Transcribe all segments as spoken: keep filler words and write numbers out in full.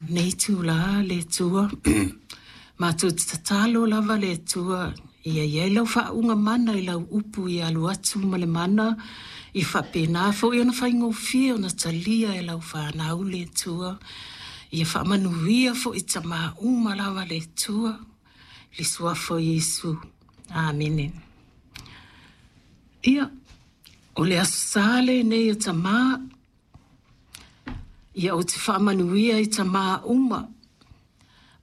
Nei itulā le Atua, matou te tatalo lava le Atua ia i ai lau faauuga mana i lau upu ia alu atu ma le mana, ia faapena foi ona faigofie ona talia e lau fanau le Atua. Ia faamanuia foi i tamā uma lava le Atua, i le suafa o Iesu. Amene. Ia, o le Aso Sa lenei o tamā, ia ou te faamanuia i tamā uma,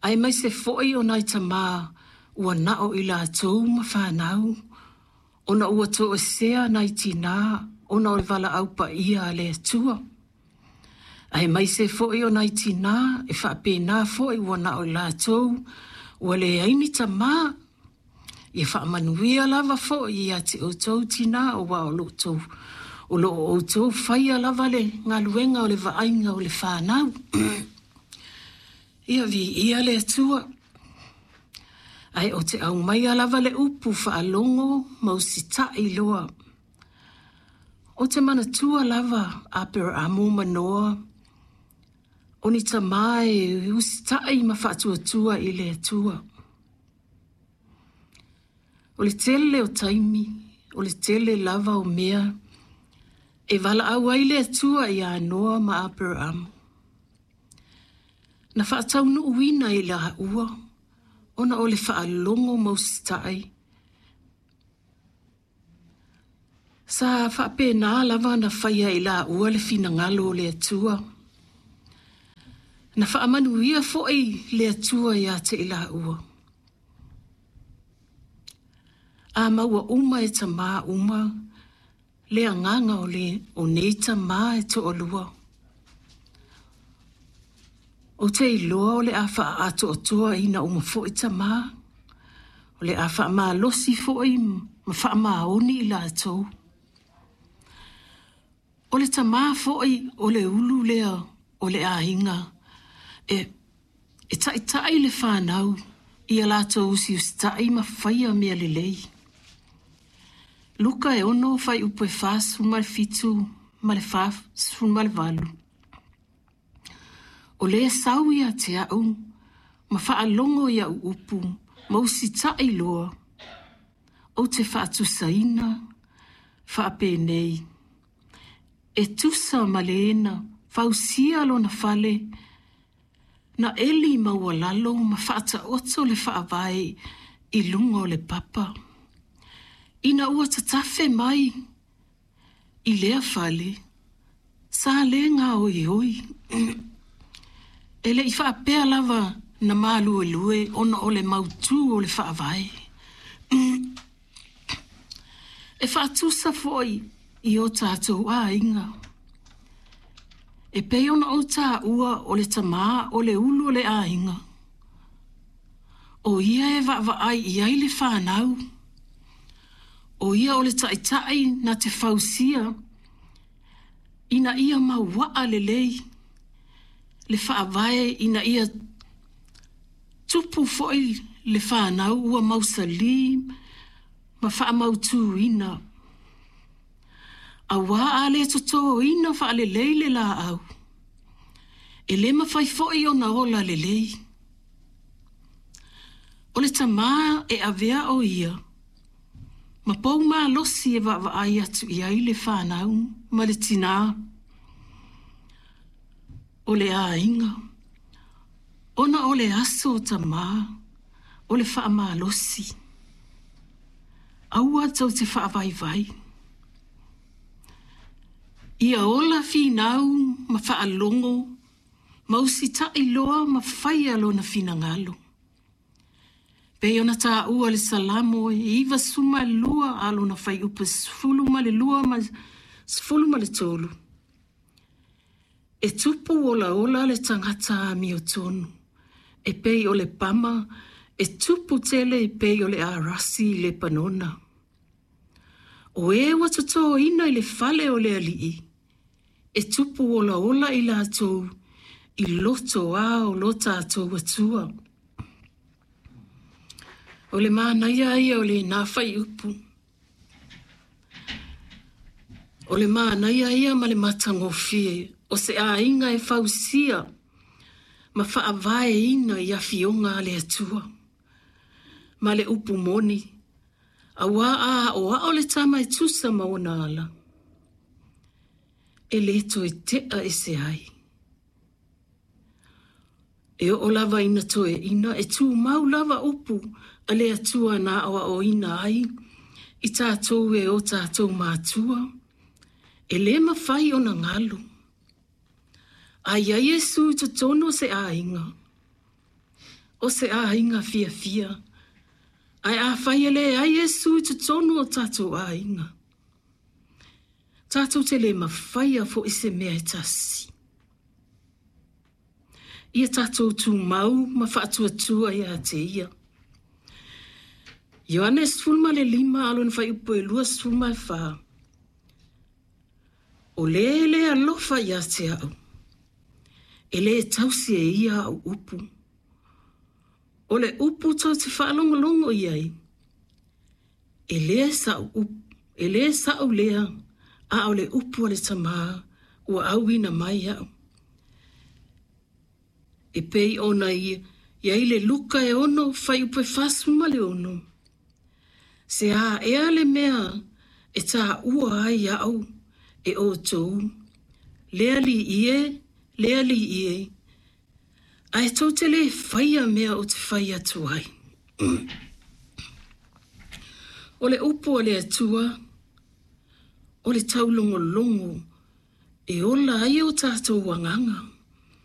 aemaise foi o nai tamā ua nao i latou ma fanau, ona ua toesea nai tinā ona o le valaau paia a le Atua. Aemaise foi o nai tinā e faapena foi ua nao i latou ua leai ni tamā. Ia faamanuia lava foi ia te outou tinā aua o lo outou, o lo o outou faia lava le galuega o le vaaiga o le fanau. Ia viia le Atua. Ae ou te aumaia lava le upu faalogo ma usitai loa. Ou te manatua lava Aperaamo ma Noa, o ni tamā e usitai ma faatuatua i le Atua. O le tele o taimi, o le tele lava o mea e valaau ai le Atua iā Noa ma Aperaamo. Na faataunuuina i laua ona o le faalogo ma usitai. Sa faapena lava ona faia e i laua le finagalo o le Atua. Na faamanuia foi le Atua ia te i laua. A maua uma e tamā uma le agaga o, le, o nei tamā e toalua. Ou te iloa o le a faaatoatoaina uma foi tamā, o le a faamalosi foi ma faamaoni i latou. O le tamā foi o le ulu lea o le aiga e, e taitai le fanau ia latou usiusitai ma faia mea lelei. Luka e ono fuaiupu e fasefulu ma le fitu ma le fasefulu ma le valu. O le sau ia te au ma faalogo i au upu ma usitai loa, ou te faatusaina faapenei. E tusa ma le na fausia lona fale, na eli maualalo ma faataoto le faavae i luga o le papa. Ina ua tatafe mai i lea fale, sa le gaoioi. E le i faapea lava na maluelue ona o le mautū o le faavae. E faatusa foi i o tatou aiga. E pei ona ou taua o le tamā o le ulu o le aiga. O ia e vaavaai i ai le fanau. O ia o le taitai na te fausia ina ia mauaa lelei le faavae ina ia tupu foi le fanau ua mausali ma faamautuina. Auā a le totoina faalelei le laau, e le mafai foi ona ola lelei. O le tamā e avea o ia ma pou malosi e vaavaai atu i ai le fanau ma le tinā o le aiga, ona o le aso o tamā o le faamalosi. Aua tou te faavaivai. Ia ola finau ma faalogo ma usitai loa ma faia lona finagalo. Pei ona taua le Salamo e ivasefulu ma lua a lona fuaiupu sefulu ma le lua ma sefulu ma le tolu. E tupu olaola le tagata amiotonu, e pei o le pama, e tupu tele e pei o le arasi i Lepanona. O e ua totoina i le fale o le alii, e tupu olaola i latou i loto a o lo tatou Atua. O le manaia ia o lenā fuaiupu. O le manaia ia ma le matagofie o se aiga e fausia ma faavaeina i afioga a le Atua. Ma le upu moni, auā a aʻoaʻo le tama e tusa ma ona ala, e lē toe teʻa ese ai. E oo lava ina toeaina e tumau lava upu a le Atua na aʻoaʻoina ai i tatou e o tatou matua, e lē mafai ona galo. A iai Iesu i totonu o se aiga, o se aiga fiafia, ae afai e leai Iesu i totonu o tatou aiga, tatou te lē mafaia foʻi se mea e tasi. Ia tatou tumau ma faatuatua iā te Ia. Ioane sefulu ma le lima a o lona fuaiupu e luasefulu ma le fa. O le e lē alofa ia te a'u, e lē tausi e ia a'u upu. O le upu tou te faalogologo i ai, e lē sa'u upu, e lē sa'u lea, a o le upu a le Tamā ua auina mai iaʻu. E pei ona i ai le Luka e ono fuaiupu e fasefulu ma le ono. Se a ea le mea e taua ai aʻu e ʻoutou, le Alii e, le Alii e, ae tou te lē faia mea ou te fai atu ai. O le upu a le Atua, o le taulogologo e ola ai o tatou agaga.